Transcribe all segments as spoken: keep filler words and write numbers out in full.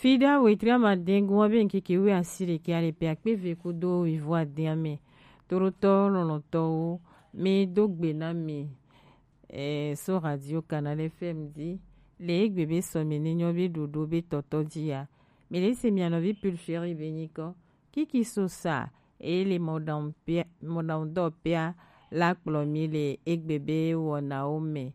Ida wetri amadɛngun wa be ŋkeke wi asi ɖekɛ ale pe akpe ve kudo wivo adɛn ame. Torotɔ lɔlɔtɔwo, mi do gbe na mi. Eh, so Radio Canal F M di le egbe be sɔmi ne nyɔ be ɖoɖo be tɔtɔ ji ya. Mi le se mia nɔvi Pulchérie be nyikɔ. Kiki so sa, eye le mɔɖaŋudɔwɔƒea la kplɔ mi le egbe be wɔnawo me.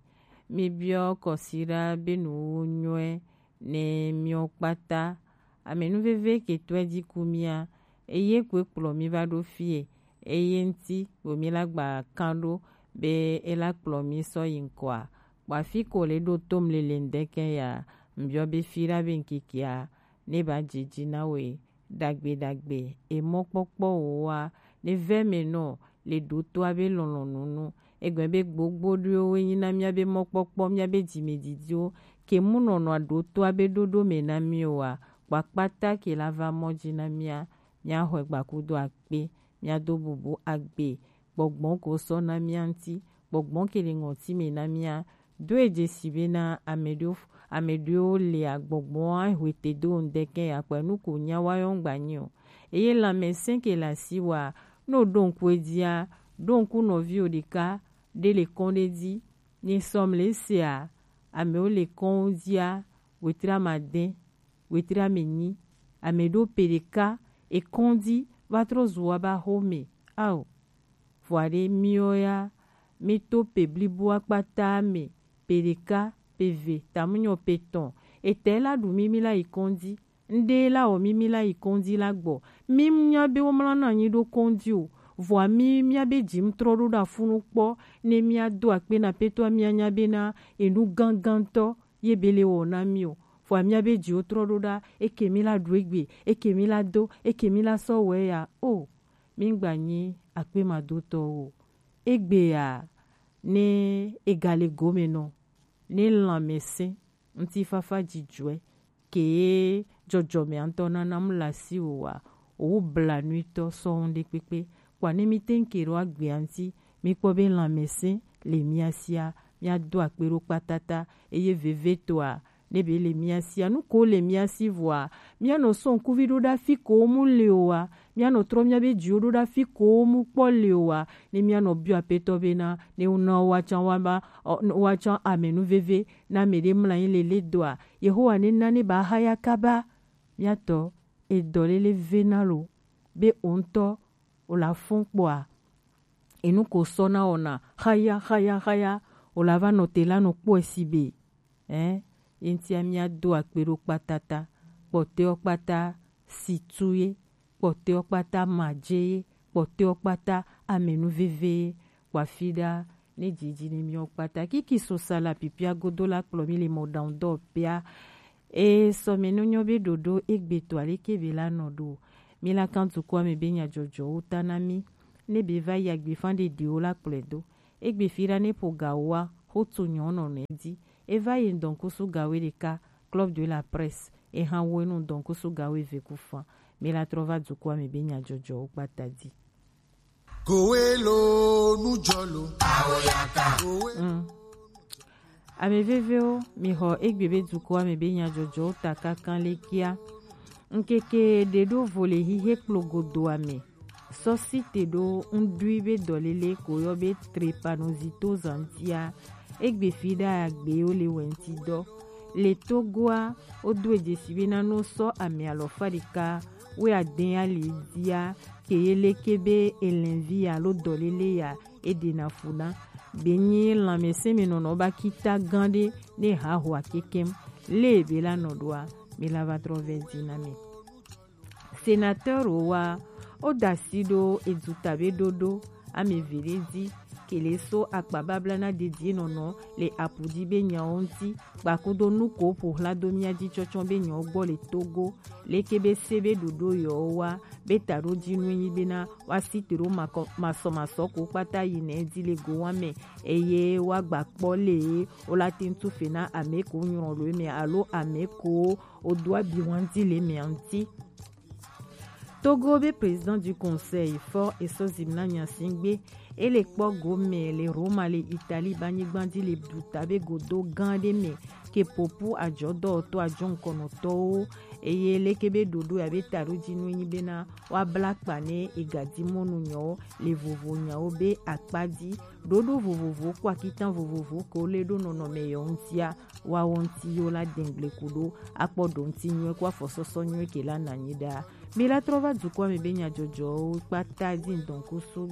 Mi biɔ kɔsiɖa be nuwuwu nyɔe ne miɔ kpata. Amenuveve ke tɔe ji ku mia, eye koe kplɔ mi va ɖo fie, eye ŋti bo mi la gba kan ɖo be e la kplɔ mi sɔ yi ŋkɔa. Kpɔ afi ko le ɖo tom lele ŋdɛkɛ ya, ŋbiɔ be fiɖa be ŋkikea ne ba jeji na we. Ɖagbe ɖagbe, emɔkpɔkpɔ wowa, ne vɛ me nɔ le ɖotoa be lɔlɔnu nu. Egbe be gbogbo ɖoe wo nyi na mia be mɔkpɔkpɔ, mia be jime didiwo, ke mu nɔnɔa ɖotoa be ɖoɖo me na mi wa, kpakpata ke la va mɔ ji na mia, mia xɔe gba kudo akpe, mia do bubu agbe, gbɔgbɔ ko sɔ na mia ŋti, gbɔgbɔ ke le ŋɔti me na mia, do e jesi be na ame ɖewo, ame ɖewo le agbɔgbɔ a hwete do ŋdɛkɛ akpɛ nu ko nya wa yɔ ŋgba nyi o. Eye lanmɛsɛn ke le asi wa, no ɖo ŋku e dia, ɖo ŋku nɔvi o ɖeka ɖe le kɔn ɖe di, ni sɔm le sea, amewo le kɔn o dia, wetri amadɛn, wetri amenyi, ame ɖo pe ɖeka, ekɔn di va trɔ zu wa ba xo me. Ao, vɔa ɖe miɔ ya, mi to pe blibo akpata me, pe ɖeka, pe ve, tamunyɔ pe tɔn. Etɛ la ɖu mi mi la yi kɔn di, ŋɖe la wɔ mi mi la yi kɔn di la gbɔ. Mi nya be wo mla na anyi ɖo kɔn di o. Vɔa mi mia be ji mu trɔ ɖo ɖa funu kpɔ, ne mia do akpe na petɔ mia nya be na enu gangantɔ ye be le wɔ na mi o. Vɔa mia be ji wo trɔ ɖo ɖa, eke mi la ɖu egbe, eke mi la do, eke mi la sɔ wɛ ya. O, mi ŋgba nyi akpemadotɔwo o. Egbea, ne ega le gome nɔ, ne lanmɛsɛn, ŋutifafa jijɔɛ, ke jɔjɔmɛ ŋutɔ nana mu le asiwò wa, owu blanuitɔ sɔŋ ɖe kpekpe. Kpɔ ne mi teŋ ke ɖo agbea ŋuti, mi kpɔ be lanmɛsɛn le mia sia, mia do akpe ɖo kpatata, eye vevetɔa, ne be le mia sia, nu ko le mia si vɔa, mia nɔ sɔ ŋkuvi ɖo ɖa fi ko mu le o wa, mia nɔ trɔ mia be dziwo ɖo ɖa fi ko mu kpɔ le o wa, ne mia nɔ biɔ apetɔ be na, ne wo na wa can wa ba, ɔ, wa can amenu veve, na me ɖe mla anyi lele doa, Yehowa ne na ne ba haya kaba, mia tɔ, edɔ lele ve na lo, be o ŋutɔ, o la fɔn kpɔa, enu ko sɔ na wɔna, haya, haya, haya, o la va nɔ te la nɔ kpɔe si be. Ɛ, ye ŋutia mia do akpe ɖo kpatata, kpɔtɔewo kpata si tu ye, kpɔtɔewo kpata madze ye, kpɔtɔewo kpata amenu veve ye, kpɔ afi ɖa ne dzidzi ne miawo kpata. Kiki so sa la pipia godo la kplɔ mi le mɔɖaŋudɔwɔƒea. E sɔ me no nyɔ be ɖoɖo egbe to aleke be la nɔ ɖo. Mi la kan dukɔa me be nyajɔjɔwo ta na mi. Ne be va yi agbefan ɖeɖewo la kplɔe do. Egbe fi ɖa ne ƒo gawoa, xo to nyɔ nɔ nɛ di. E va yi ŋdɔnkusu gawo ɖeka, Club de la Presse, e hã wo enu ŋdɔnkusu gawo eve ku fan. Mi la trɔ va dukɔa me be nyajɔjɔwo kpata di. Kowe lo nujɔ lo. Awoyaka. Kowe. Mm. Ame vevewo, mi xɔ egbe be dukɔa me be nyajɔjɔwo ta kankan le kia. Ŋkeke ɖe ɖo vo le xixe kplo godoa me. Sɔ site ɖo ŋɖui be dɔlele ko yɔ be trepanoxytoxane ŋtia, egbe fi ɖa agbewo le wɛnti dɔ. Le Togoa, wodo edzesi be na no sɔ ame alɔfa ɖeka wɛ adɛn ali dia, ke ye leke be elɛnvi alo dɔlele ya e ɖena fu na. Be nyi lanmɛsɛn me nɔnɔ ba kita gan ɖe ne ha ho akekɛm. Le be la nɔ ɖoa, mi la va trɔ vɛ di na mi. Sénateur wo wa, wo da asi ɖo eduta be ɖoɖo ame eve ɖe di, ke le so akpa babla na dedie nɔnɔ le apu di be nyawo ŋti, kpakudo nu ko ƒo xla do mia di tsɔtsɔ be nyawo gbɔ le Togo, leke be se be ɖoɖo yɔwo wa, be taɖodinu enyi be na wa si te ɖo makɔ-, masɔmasɔ ko kpata yi nɛ di le go wa me, eye wa gba kpɔ le wo la te ŋtu fe na ame ko nyrɔ lo me alo ame ko o do abi wan di le mea ŋti. Togo be président du conseil, Faure Essozimena Gnassingbé, E le kpɔ gome le Roma le Italie banyigba dzi le duta be godo gã ɖe me ke popu ajɔdɔwɔtɔ ajɔŋkɔnɔtɔwo eye leke be ɖoɖo ya be taɖodzinue nyi bena woabla akpa ne egadimɔnu nyɔwo le vovo nyawo be akpa dzi. Ɖoɖo vovovowo kpo akitan vovovowo ke wole ɖo nɔnɔme yɔ ŋutia, woawɔ ŋuti yewo la dɛn gble ku ɖo akpɔ ɖo ŋuti nyuie kpo afɔsɔsɔ nyuie ke la nanyi ɖa. Mi la trɔ va dukɔa me be nyajɔjɔwo kpata dzi ŋdɔn kusu